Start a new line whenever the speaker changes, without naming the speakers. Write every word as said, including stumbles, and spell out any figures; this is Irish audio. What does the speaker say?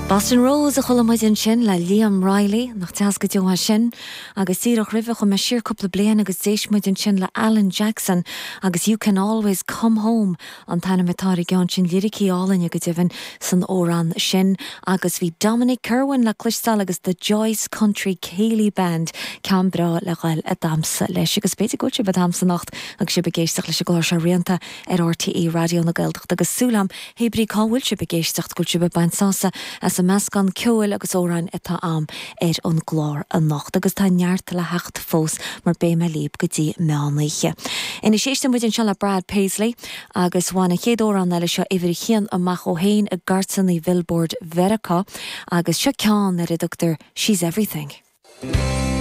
Boston Rose a chuala muid ansin le Liam Reilly nach deas go deo sin agus díreach roimhe chuaigh mé siar cúpla bliain agus d'éist muid ansin le Alan Jackson agus You Can Always Come Home an t-ainm atá ar an gceann sin liricí álainne go deimhin san amhrán sin agus bhí Dominic Kerwin le cloisteáil agus the Joyce Country Céilí Band ceann breá le ghoil ag damhsa leis agus b'fhéidir go bhfuil sibh ag damhsa anocht agus sibh ag éisteacht leis an gclár seo rianta ar RTÉ Raidió na Gaeltachta agus súil agam hé brí cá bhfuil sibh ag éisteacht go bhfuil sibh ag baint sásamh as an meascán ceoil agus amhráin atá agam ar an gclár anocht agus tá neart le theacht fós mar beidh mé libh go dtí meánoíche. Anois éisteann muid anseo le Brad Paisley agus bhain an chéad amhrán eile seo uimhir a haon amach ó shin i gcairteanna Billboard Mheiriceá agus seo ceann ar a dtugtar She's Everything.